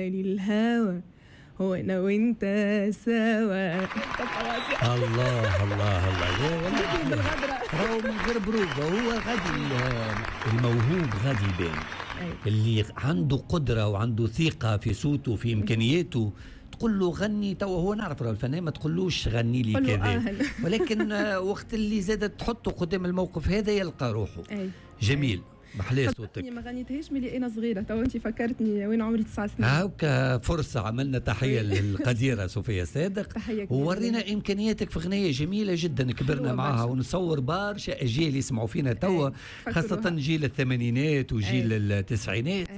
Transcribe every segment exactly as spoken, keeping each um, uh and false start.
للهوى وانا وانت سوا. الله الله الله، والله بالغدرة. راهو من غير بروفة، هو غادي الموهوب غادي يبان، اللي عنده قدرة وعنده ثقة في صوته في إمكانياته. تقول له غني توا، هو نعرف الفنان ما تقولوش غني لي كذا، ولكن وقت اللي زادت تحطه قدام الموقف هذا يلقى روحه. أي. جميل، محلاه صوتك. ما غنيتهاش ملي انا صغيرة، تو انت فكرتني وين عمري تسع سنين. هاكا فرصة عملنا تحية للقديره صوفيا صادق، تحية كبيرة، وورينا امكانياتك في غنية جميلة جدا كبرنا معاها، ونصور برشا اجيال يسمعوا فينا توا، خاصة جيل الثمانينات وجيل التسعينات.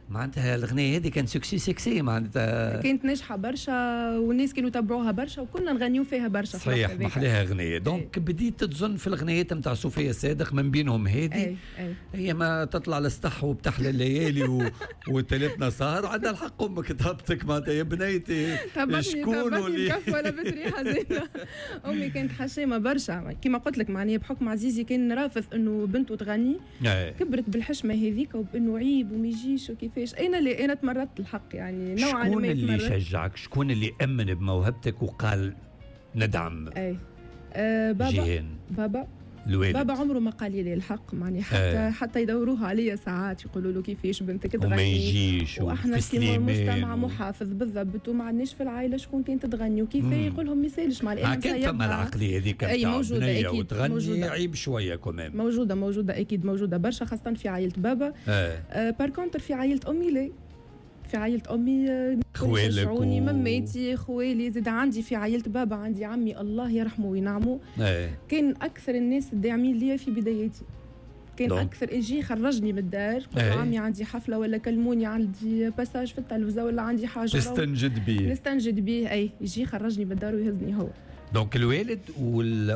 معناتها الاغنية هذه كان succès succès، معناتها كانت ناجحة برشا والناس كانوا يتبعوها برشا وكنا نغنيو فيها برشا. صحيح، محلاها اغنية. donc بديت تظن في الاغنيات نتاع صوفيا صادق من بينهم هذه. هي ما تطلع للسطح وبتحلى الليالي و... وتلاتنا سهر، عندها الحق امك تهبطك معناتها يا بنيتي شكون اللي ولا بطريحه زينة. امي كانت حشامه برشا كما قلت لك، معناها بحكم عزيزي كان رافض انه بنته تغني. أي. كبرت بالحشمه هذيك وبانه عيب وما يجيش وكيفاش. انا اللي انا تمردت الحق يعني نوعا ما. شكون اللي شجعك؟ شكون اللي امن بموهبتك وقال ندعم؟ اي أه بابا. جيهان. بابا الوالد. بابا عمره ما قال لي الحق، معني حتى أي. حتى يدوروها عليا ساعات يقولوا له كيفاش بنتك تغني وما يجيش، واحنا كيما مجتمع محافظ بالضبط وما عندناش في العائلة شكون كانت تغني وكيف يقول لهم ما يسالش مع الان. كانت فما العقلية هذيك اي موجودة اكيد، وتغني موجودة. عيب شوية quand même، موجودة موجودة اكيد موجودة برشا خاصة في عائلة بابا. آه par contre في عائلة امي لا، في عائلة أمي خوالك و... مماتي خوالي زاد عندي في عائلة بابا عندي عمي الله يرحمه وينعمه. ايه. كان أكثر الناس الداعمين ليا في بداياتي، كان donc. أكثر يجي خرجني من الدار، قلت ايه. عمي عندي حفلة ولا كلموني عندي passage في التلفزة ولا عندي حاجة نستنجد بيه، نستنجد بيه. أي يجي خرجني من الدار ويهزني هو. donc الوالد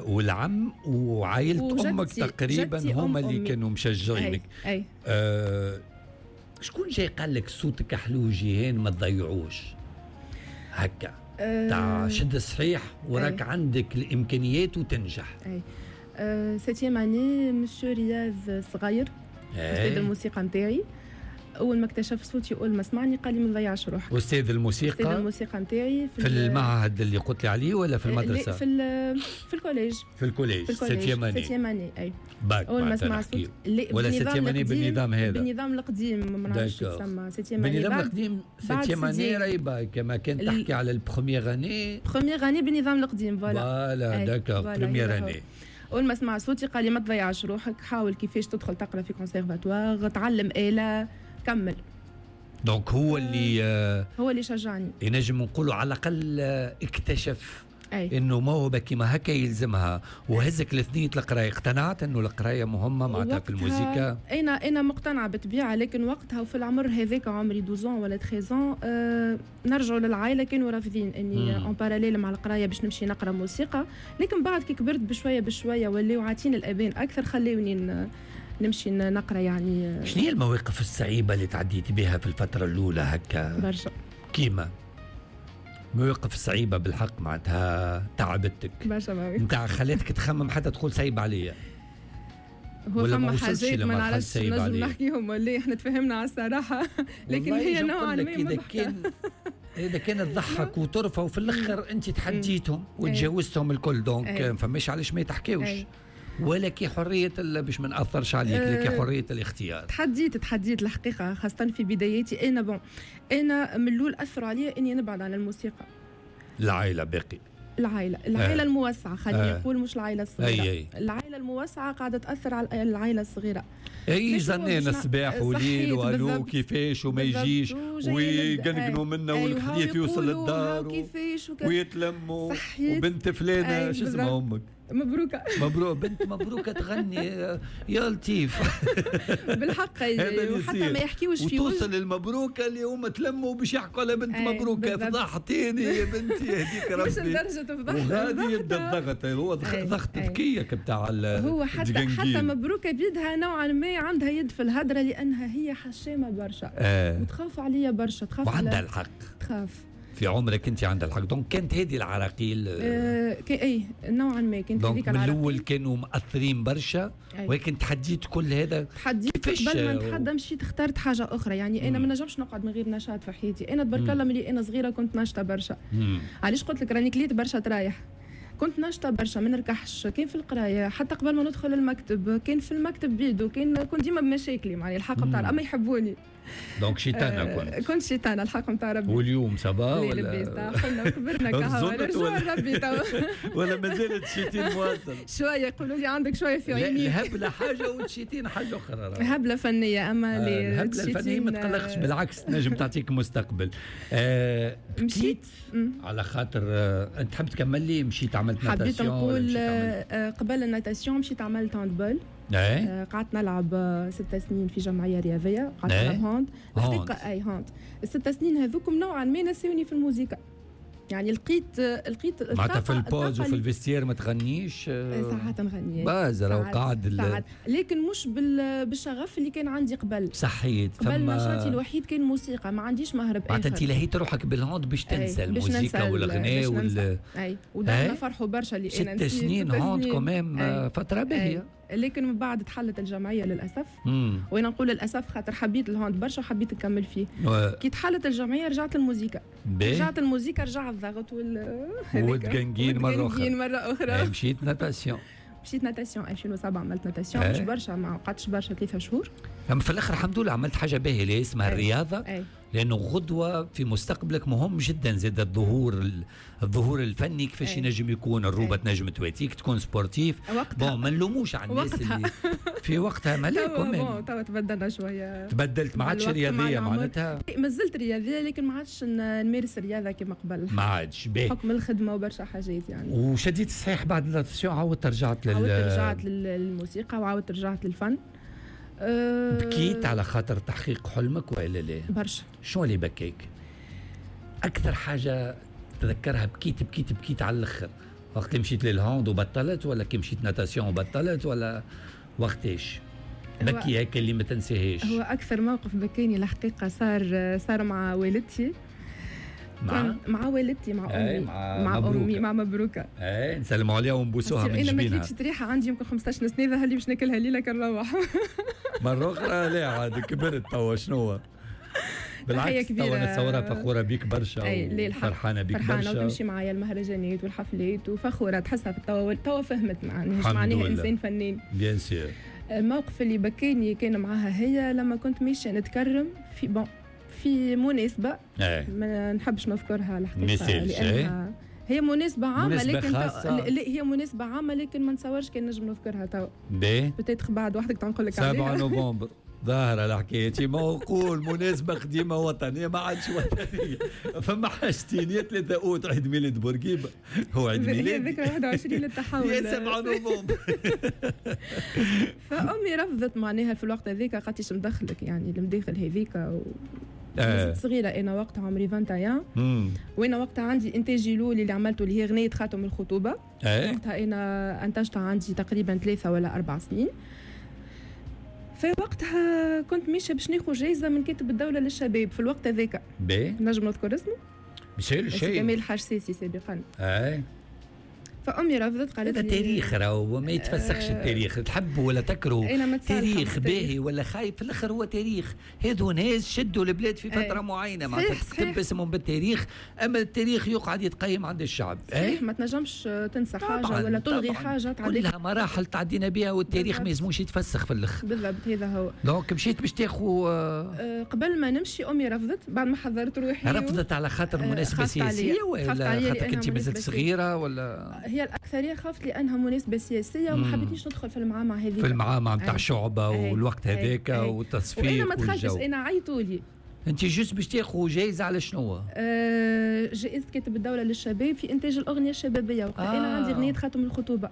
والعم وعائلة أمك تقريبا هما اللي كانوا مشجعينك. أي. أي. آه شكون جاي قال لك صوتك حلو جيهان ما تضيعوش هكا؟ أه تاع شد صحيح وراك أي. عندك الامكانيات وتنجح. اي أه septième année monsieur رياض صغير استاذ الموسيقى نتاعي، اول ما اكتشف صوتي اول ما سمعني قال لي ما تضيعش روحك. استاذ الموسيقى؟ استاذ الموسيقى نتاعي في, في المعهد اللي قلت لي عليه ولا في المدرسة؟ في في ال collège. في ال collège septième année. septième année اي باك اول ما سمع صوت ولا septième année بالنظام هذا؟ بالنظام القديم ما نعرفش تسمى septième année بالنظام القديم. septième année راهي باك، كما كان تحكي على ال première année. première année بالنظام القديم. voilà voilà d'accord première année. اول ما سمع صوتي قال لي ما تضيعش روحك، حاول كيفاش تدخل تقرا في كونسيرفاتوار، تعلم آلة، كمل. donc هو اللي آه هو اللي شجعني، ينجم نقولوا على الاقل اكتشف أي. انه موهبة كيما هكا يلزمها وهزك لثنيه القراية. اقتنعت انه القراية مهمة معناتها في الموسيقى؟ انا انا مقتنعة بالطبيعة، لكن وقتها وفي العمر هذاك عمري اثنا عشر ولا ثلاثة عشر آه نرجعوا للعائلة كانوا رافضين اني en parallèle مع القراية باش نمشي نقرا موسيقى. لكن بعد كي كبرت بشوية بشوية ولاو عاطين الابان اكثر خلوني نمشي نقرا. يعني شنو هي المواقف الصعيبه اللي تعديتي بها في الفترة الاولى هكا؟ برشا كيما مواقف صعيبة بالحق معناتها تعبتك برشا مواقف نتاع خلاتك تخمم حتى تقول صعيب عليا. هو فما حاجات ما نعرفش نجم نحكيهم ولا احنا تفهمنا على الصراحة، لكن هي نوعا ما اذا كان اذا كانت تضحك وترفع وفي الاخر انت تحديتهم وتجاوزتهم الكل، donc ما فماش علاش ما يتحكيوش. ولك حرية باش ما ناثرش عليك، لك حرية الاختيار. تحديت تحديت الحقيقة خاصة في بداياتي انا. bon انا من الاول اثروا عليا اني نبعد على الموسيقى. العائلة باقي العائلة العائلة آه. الموسعه خليني آه. نقول مش العائلة الصغيرة. أي أي. العائلة الموسعه قاعدة تاثر على العائلة الصغيرة. اي زنينا الصباح وليل والو كيفاش وما يجيش ويقنقنوا منا والحديث يوصل للدار وكيفاش ويتلموا وبنت فلانه شو اسمها امك؟ مبروكة. مبروك بنت مبروكة تغني يا لطيف. بالحق وحتى ما يحكيوش في وتوصل المبروكة اللي هما تلموا باش يحكوا على بنت مبروكة. فضحتيني يا بنتي يهديك ربي. مش لدرجة فضحت. وغادي يبدا الضغط، هو ضغط ذكية بتاع هو حتى حتى مبروكة بيدها نوعا ما عندها يد في الهدرة لأنها هي حشامة برشا. آه. وتخاف عليا برشا، تخاف وعندها الحق تخاف. في عمرك انت عندها الحق. donc كانت هذه العراقيل أه اي نوعا ما كانت هذيك العراقيل. من الاول كانوا مأثرين برشا، ولكن تحديت كل هذا. تحديت قبل ما نتحدى مشيت اخترت حاجة اخرى، يعني انا ما نجمش نقعد من غير نشاط في حياتي. انا تبارك الله ملي انا صغيرة كنت ناشطة برشا. علاش قلت لك راني كليت برشا ترايح، كنت ناشطة برشا، ما نركحش، كان في القراية حتى قبل ما ندخل المكتب، كان في المكتب بيدو، كان كنت ديما بمشاكلي معني الحق نتاع اما يحبوني. donc شيطانه كنت كنت شيطانه الحق نتاع ربي. واليوم ça va ولا لاباس؟ قلنا وكبرنا كهو رجوع ربي تو ولا مازالت شيتين مواصل؟ شوية يقولوا لي عندك شوية في عينيك. الهبلة حاجة والشيتين حاجة اخرى. هبلة فنية، اما آه الهبلة الفنية ما تقلقش، بالعكس تنجم تعطيك مستقبل. آه مشيت على خاطر آه انت تحب تكمل لي؟ مشيت عملت natation؟ حبيت نقول آه قبل ال natation مشيت عملت handball. آه قعدت نلعب ست سنين في جمعية رياضية، قعدت نلعب hand الحقيقة. اي hand الست سنين هذوكم نوعا ما نسيوني في الموسيقى، يعني لقيت لقيت معناتها في ال pause وفي ال vestiaire ما تغنيش؟ ساعات نغني باز راهو قاعد، ساعات، لكن مش بالشغف اللي كان عندي قبل. صحيت. قبل نشاطي الوحيد كان موسيقى، ما عنديش مهرب اخر. معناتها انت لهيت روحك بال hand باش تنسى الموسيقى والغناء وال اي ودارنا فرحوا برشا اللي انا ست سنين hand quand même فترة باهيه. لكن من بعد تحلت الجمعية للاسف. مم. وانا نقول للاسف خاطر حبيت ال hand برشا وحبيت نكمل فيه. و... كي تحلت الجمعية رجعت الموسيقى. رجعت الموسيقى، رجع الضغط وال والتقنقين مرة اخرى. مرة اخرى. مشيت natation. مشيت natation ألفين وسبعة، عملت natation مش برشا، ما قعدتش برشا، ثلاثة شهور. اما في الاخر الحمد لله عملت حاجة باهيه اللي اسمها الرياضة. أي. لانه غدوه في مستقبلك مهم جدا زاد الظهور الظهور الفني كيفاش ينجم يكون، الروبه تنجم تواتيك تكون sportif. bon ما نلوموش على الناس اللي في وقتها ما لا توا تبدلنا شوية، تبدلت ما عادش رياضية معناتها. مازلت رياضية لكن ما عادش نمارس الرياضة كما قبل، ما عادش بحكم الخدمة وبرشا حاجات يعني. وشديت الصحيح بعد ال natation عاودت رجعت لل عاودت رجعت للموسيقى وعاودت رجعت للفن. أه بكيت على خاطر تحقيق حلمك والا لا؟ برشا. شنو اللي بكيك؟ اكثر حاجة تذكرها بكيت بكيت بكيت على الاخر، وقت اللي مشيت لل hand وبطلت، ولا كي مشيت natation وبطلت، ولا وقتاش بكي هيك اللي ما تنساهاش؟ هو اكثر موقف بكاني الحقيقة صار صار مع والدتي. مع مع والدتي، مع امي، مع, مع امي، مع مبروكه. اي نسلموا عليها ونبوسوها من جبينها. انا ما كليتش تريحه عندي يمكن خمسطاش سنة، ظهر لي باش ناكلها ليلة كنروح. مرة اخرى لا عاد كبرت توا شنو؟ بالعكس توا نتصورها فخورة بيك برشا وفرحانه بيك برشا، فرحانة وتمشي معايا المهرجانات والحفلات وفخوره، تحسها في توا توا فهمت معناها معناها انسان فنان. bien sûr. الموقف اللي بكاني كان معاها هي لما كنت ماشية نتكرم في bon في مناسبة. أي. ما نحبش نذكرها الحقيقة لأنها هي مناسبة عامة، مناسبة لكن خاصة. لا هي مناسبة عامة لكن ما نتصورش كان نجم نذكرها تو. باهي peut-être بعد وحدك تنقول لك عليها. سبعة نوفمبر ظاهرة الحكاية، ما نقول مناسبة قديمة وطنية ما عادش وطنية، فما حاجتين يا ثلاثة أوت عيد ميلاد بورقيبة هو عيد ميلادي، ذكرى واحد وعشرين للتحول، يا سبعة نوفمبر. فأمي رفضت معناها في الوقت هذاك، قالت لي مدخلك يعني المداخل هذيك و... آه. صغيرة أنا وقتها عمري واحد وعشرين، وأنا وقتها عندي إنتاجي الأول اللي عملته اللي هي غنية خاتم الخطوبة. آه. وقتها أنا أنتجتها عندي تقريبا ثلاثة ولا أربع سنين. في وقتها كنت ماشية باش ناخذ جايزة من كاتب الدولة للشباب في الوقت هذاك. نجم نذكر اسمه؟ مشي شيء كمال الحاج ساسي سابقا. اي فأمي رفضت، قالت هذا تاريخ راهو ما يتفسخش. التاريخ تحب ولا تكره، تاريخ باهي ولا خايب في الاخر هو تاريخ. هذو ناس شدوا البلاد في فترة معينة، معناتها تكتب اسمهم بالتاريخ، اما التاريخ يقعد يتقيم عند الشعب. صحيح، ما تنجمش تنسى حاجة ولا تلغي حاجة، كلها مراحل تعدينا بها والتاريخ ما يلزموش يتفسخ في الاخر. بالضبط هذا هو. donc مشيت باش تاخذ أه قبل ما نمشي امي رفضت بعد ما حضرت روحي. رفضت على خاطر مناسبة سياسية ولا خاطر كنت مازلت صغيرة ولا؟ هي الأكثرية خافت لأنها مناسبة سياسية وما حبيتنيش ندخل في المعامع هذيك، في المعامع نتاع الشعبة والوقت هذاك والتصفيق. وأنا ما دخلتش، أنا عيطوا لي. أنت juste باش تاخذ جايزة على شنو؟ آه جائزة كاتب الدولة للشباب في إنتاج الأغنية الشبابية. وقتها آه. أنا عندي أغنية خاتم الخطوبة.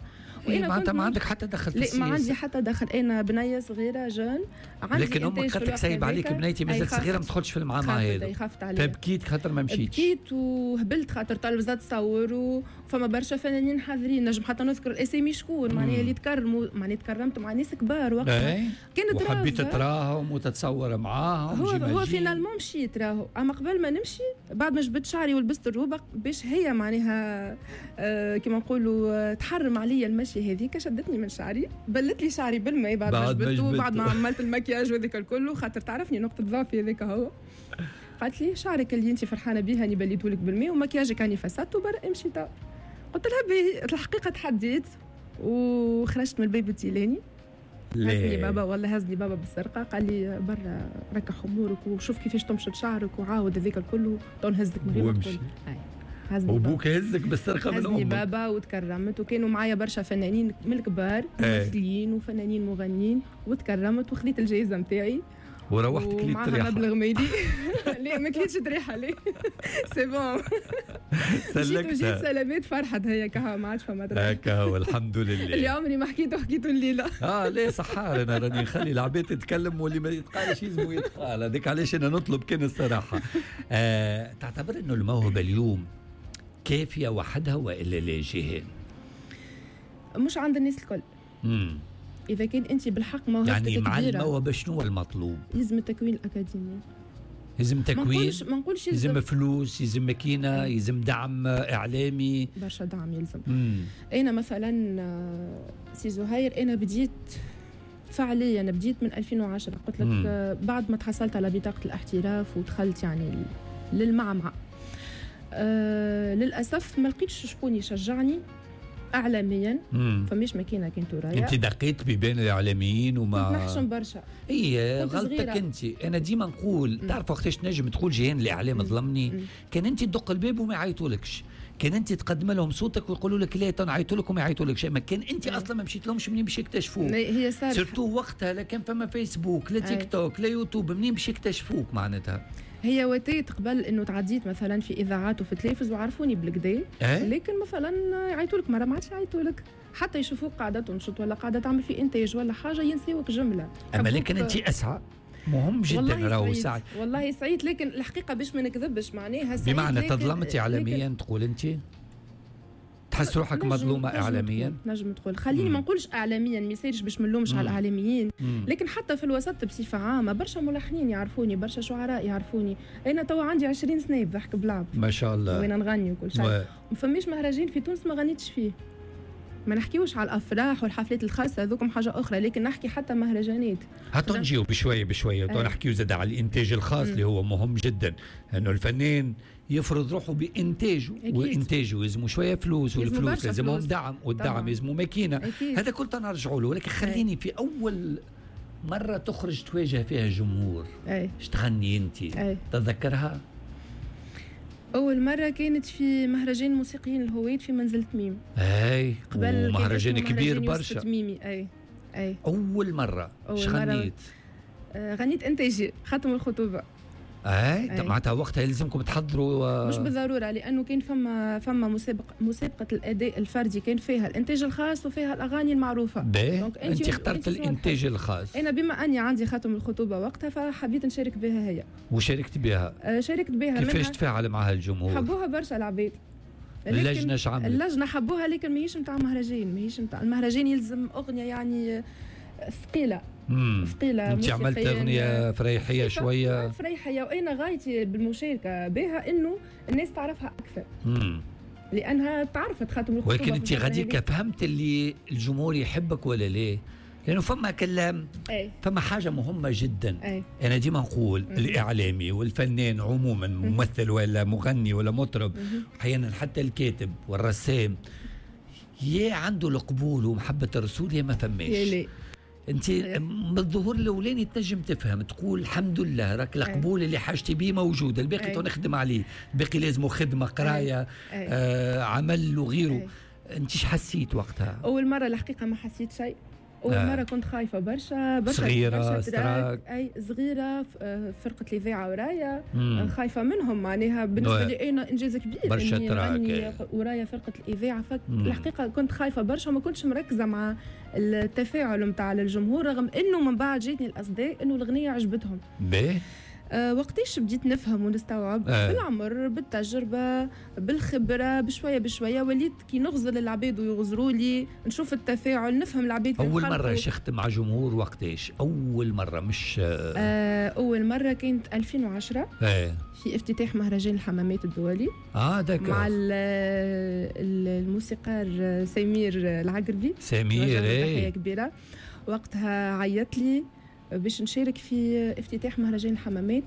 إيه معناتها ما عندك حتى دخل في السياسة؟ لا ما عندي حتى دخل، انا بنيه صغيرة jeune عندي، لكن امك قالت لك سايب عليك بنيتي مازالت صغيرة ما تدخلش في المعاملة هذا. خافت عليا، فبكيت خاطر ما مشيتش. بكيت وهبلت خاطر طالب تصور وفما برشا فنانين حاضرين، نجم حتى نذكر الاسامي شكون معناها اللي تكرموا، معناها تكرمت مع ناس كبار وقتها كانت وحبيت تراهم وتتصور معاهم. هو هو finalement مشيت راهو، اما قبل ما نمشي بعد ما جبت شعري ولبست الروبه باش هي معناها آه كيما نقولوا تحرم عليا المشي هذيك، شدتني من شعري بلت لي شعري بالماء بعد ما جبته بعد ما عملت المكياج وذاك الكل، خاطر تعرفني نقطة ضعفي هذاك هو. قالت لي شعرك اللي انت فرحانة بيه هاني بليته لك بالماء ومكياجك هاني فسدته برا امشي تا. قلت لها باهي. الحقيقة تحديت وخرجت من الباب التيلاني. هزني بابا والله هزني بابا بالسرقة، قال لي برا ركح امورك وشوف كيفاش تمشط شعرك وعاود هذاك الكل تو نهزك من غير ما تقول. وابوك هزك بالسرقة من امك؟ هزني بابا وتكرمت، وكانوا معايا برشا فنانين من الكبار ممثلين وفنانين مغنيين، وتكرمت وخذيت الجائزة نتاعي وروحت كليت طريحه مبلغ مالي. لا ما كليتش طريحه، لا c'est bon سلكتها وجيت سلامات فرحت هي كها ما عادش فما طريحه هكا هو الحمد لله. اللي عمري ما حكيته حكيته الليلة. اه لا صحار انا راني نخلي العباد تتكلم واللي ما يتقالش يلزمو يتقال، هذاك علاش انا نطلب كان الصراحة. آه تعتبر انه الموهبة اليوم كافيه وحدها والا لا جهان؟ مش عند الناس الكل. امم إذا كان أنت بالحق موهبتك يعني مع كبيرة، الموهبة شنو المطلوب؟ يلزم التكوين الأكاديمي، يلزم تكوين، ما نقولش يلزم فلوس، يلزم ماكينة، يلزم دعم إعلامي، برشا دعم يلزم. مم. أنا مثلا سي زهير أنا بديت فعليا بديت من ألفين وعشرة، قلت لك مم. بعد ما تحصلت على بطاقة الاحتراف ودخلت يعني للمعمعة، أه للأسف ما لقيتش شكون يشجعني اعلاميا، فماش ماكينة كانت ورايا. انت دقيت ببين الاعلاميين وما كنت نحشم برشا. اي غلطتك انت. انا ديما نقول تعرف وقتاش تنجم تقول جهان الاعلام ظلمني؟ كان انت تدق الباب وما يعيطولكش، كان انت تقدم لهم صوتك ويقولوا لك لا تنعيطوا لك وما يعيطولكش، اما كان انت اصلا ما مشيت لهمش منين باش يكتشفوك؟ هي صارت surtout وقتها لا كان فما فيسبوك لا تيك توك لا يوتيوب، منين باش يكتشفوك معناتها؟ هي وتيت قبل انه تعديت مثلا في اذاعات وفي تلفز وعرفوني بالكدا، أه؟ لكن مثلا يعيطوا لك مرة ما عادش يعيطوا لك، حتى يشوفوك قاعدة تنشط ولا قاعدة تعمل في انتاج ولا حاجة ينسيوك جملة. اما لكن انت اسعى مهم جدا راهو سعي. والله سعيد، لكن الحقيقة باش ما نكذبش معناها سعيد، بمعنى تظلمتي اعلاميا تقول انت؟ تحس روحك مظلومة اعلاميا؟ نجم تقول، خليني ما نقولش اعلاميا ما يصيرش باش ما نلومش على الاعلاميين، لكن حتى في الوسط بصفة عامة برشا ملحنين يعرفوني، برشا شعراء يعرفوني. انا توا عندي عشرين سنة بضحك بلعب ما شاء الله وين نغني وكل شيء، ما فماش مهرجان في تونس ما غنيتش فيه. ما نحكيوش على الافراح والحفلات الخاصة هذوكم حاجة اخرى، لكن نحكي حتى مهرجانات. هاتو نجيو بشوية بشوية تو نحكيو زاد على الانتاج الخاص اللي هو مهم جدا، انه الفنان يفرض روحه بانتاجه، وانتاجه يلزمه شوية فلوس، والفلوس لازمهم دعم، والدعم يلزمه ماكينة، هذا كل نرجعوا له. ولكن خليني في اول مرة تخرج تواجه فيها الجمهور، اش تغني انت؟ تتذكرها؟ أول مرة كانت في مهرجان موسيقيين الهويت في منزل تميم. أي قبل مهرجان كبير برشا. تميمي أي أي. أول مرة اش غنيت؟ آه غنيت إنتاجي خاتم الخطوبة. أي معناتها وقتها يلزمكم تحضروا؟ مش بالضرورة، لأنه كان فما فما مسابقة مسابقة الأداء الفردي كان فيها الإنتاج الخاص وفيها الأغاني المعروفة. باهي أنت اخترت الإنتاج الخاص. أنا بما أني عندي خاتم الخطوبة وقتها فحبيت نشارك بها هي. وشاركت بها؟ آه شاركت بها. كيفاش تفاعل معها الجمهور؟ حبوها برشا العباد. اللجنة اش عملت؟ اللجنة حبوها، لكن ماهيش نتاع مهرجان، ماهيش نتاع المهرجان، يلزم أغنية يعني ثقيلة. ثقيلة. انت عملت اغنية فريحيه شوية. فريحيه، وانا غايتي بالمشاركة بها انه الناس تعرفها اكثر. مم. لانها تعرفت خاتم الخطوبة. ولكن انت غاديك فهمت اللي الجمهور يحبك ولا ليه؟ لانه فما كلام، أي. فما حاجة مهمة جدا. أي. انا ديما نقول مم. الاعلامي والفنان عموما، ممثل ولا مغني ولا مطرب، احيانا حتى الكاتب والرسام، يا عنده القبول ومحبه الرسول يا ما فماش. انت من الظهور الاولاني تنجم تفهم تقول الحمد لله راك القبول اللي حاجتي بيه موجود، الباقي تو نخدم عليه، الباقي لازمه خدمة قرايه آه عمل وغيره. انت اش حسيت وقتها؟ اول مرة الحقيقة ما حسيت شيء. اول آه. مرة كنت خايفة برشا برشا، صغيرة، برشا ستراك. trac. اي صغيره، آه، فرقه الاذاعة ورايا، مم. خايفة منهم، معناها بالنسبة oui. لي انا انجاز كبير برشا إني trac، نغني إيه. ورايا فرقه الاذاعه. مم. فالحقيقة كنت خايفة برشا وما كنتش مركزه مع التفاعل نتاع الجمهور، رغم انه من بعد جاتني الاصداء انه الاغنية عجبتهم. باهي. أه وقتاش بديت نفهم ونستوعب؟ آه. بالعمر، بالتجربه، بالخبره، بشوية بشوية وليت كي نغزر للعباد ويغزروا لي، نشوف التفاعل، نفهم العباد اول كيف مرة خلقوا. شخت مع جمهور وقتاش؟ اول مرة مش آه آه اول مرة كانت ألفين وعشرة ايه في افتتاح مهرجان الحمامات الدولي اه d'accord مع ال- ال- الموسيقار سمير العقربي. سمير. نوجه له تحية ايه كبيره. وقتها عيط لي باش نشارك في افتتاح مهرجان الحمامات،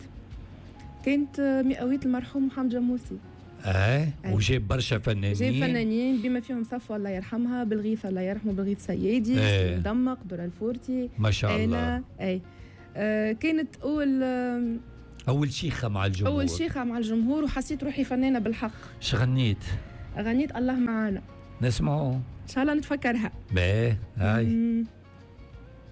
كانت مئوية المرحوم محمد جموسي. اه أي. وجاب برشا فنانين. جاب فنانين بما فيهم صفوة الله يرحمها، بالغيث الله يرحمه، بالغيث سيادي، إيه. سليم دمق، درة الفورتي. ما شاء الله. انا اي آه كانت اول اول شيخه مع الجمهور. اول شيخه مع الجمهور، وحسيت روحي فنانة بالحق. اش غنيت؟ غنيت الله معانا. نسمعوا. ان شاء الله نتفكرها. باهي، هاي. مم.